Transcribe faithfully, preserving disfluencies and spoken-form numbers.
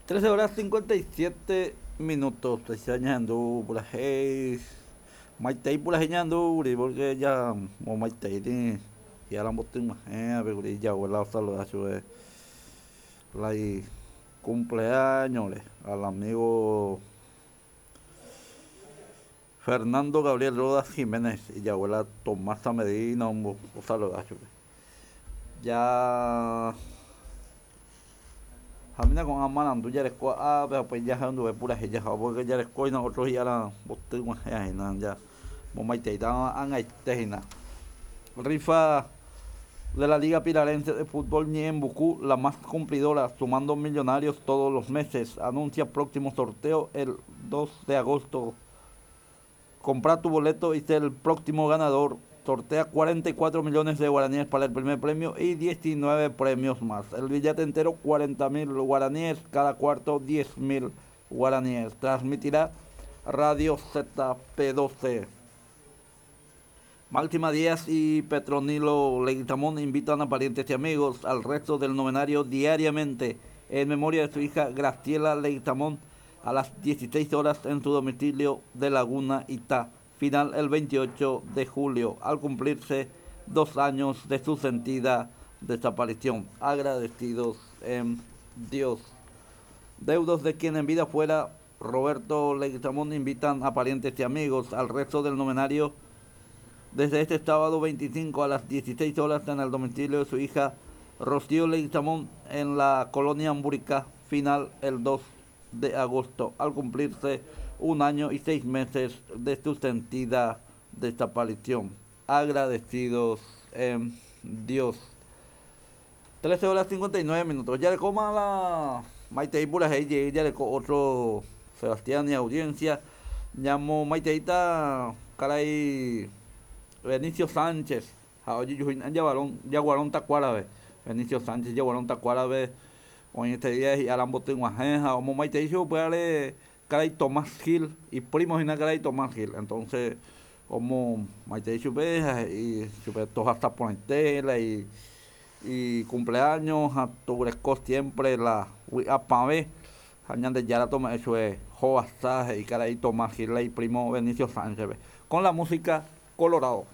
Trece horas cincuenta y siete minutos. Ñahendu purahéi maitei purahéi ñahendúkuri porque ya momaiteíri hi'arambotyg̃uahẽapekuri ijabuela osaluda chupe la icumpleaños-re al amigo Fernando Gabriel Rodas Jiménez, ijabuela Tomasa Medina osaluda chupe. Ya Jamina ko'ã marandu jareko ápe ha upéi jahenduve purahéi jaha porque jarekóina otro hi'arambotyg̃uahẽhína ya momaiteíta ag̃aite hína. Rifa de la Liga Pilarense de Fútbol Ñe'ẽmbuku, la más cumplidora, sumando millonarios todos los meses. Anuncia próximo sorteo el dos de agosto. Compra tu boleto y sé el próximo ganador. Sortea cuarenta y cuatro millones de guaraníes para el primer premio y diecinueve premios más. El billete entero cuarenta mil guaraníes, cada cuarto diez mil guaraníes. Transmitirá Radio Z P doce. Máxima Díaz y Petronilo Leguizamón invitan a parientes y amigos al resto del novenario diariamente en memoria de su hija Graciela Leguizamón a las dieciséis horas en su domicilio de Laguna Itá. Final el veintiocho de julio, al cumplirse dos años de su sentida desaparición. Agradecidos en Dios. Deudos de quien en vida fuera Roberto Leguizamón invitan a parientes y amigos al resto del novenario desde este sábado veinticinco a las dieciséis horas en el domicilio de su hija Rocío Leguizamón en la colonia Amburica. Final el dos de agosto, al cumplirse un año y seis meses de su sentida desaparición. Agradecidos en Dios. trece horas cincuenta y nueve minutos. Ya le coma la Maite Pura, ya le otro Sebastián y audiencia. Llamo Maiteita, caray, Benicio Sánchez. Oye, yo Yaguarón, Yaguarón Tacuarabe. Benicio Sánchez, Yaguarón Tacuarabe. Hoy este día y Arambote Guajeja, como Maite dijo, pues caray Tomás Gil y primo y caray Tomás Gil. Entonces, como Maite dijo, y super todas hasta ponerla y, y cumpleaños a tu siempre la apave. Añade ya la toma eso es Joasaje y caray Tomás Gil y primo Benicio Sánchez. Con la música Colorado.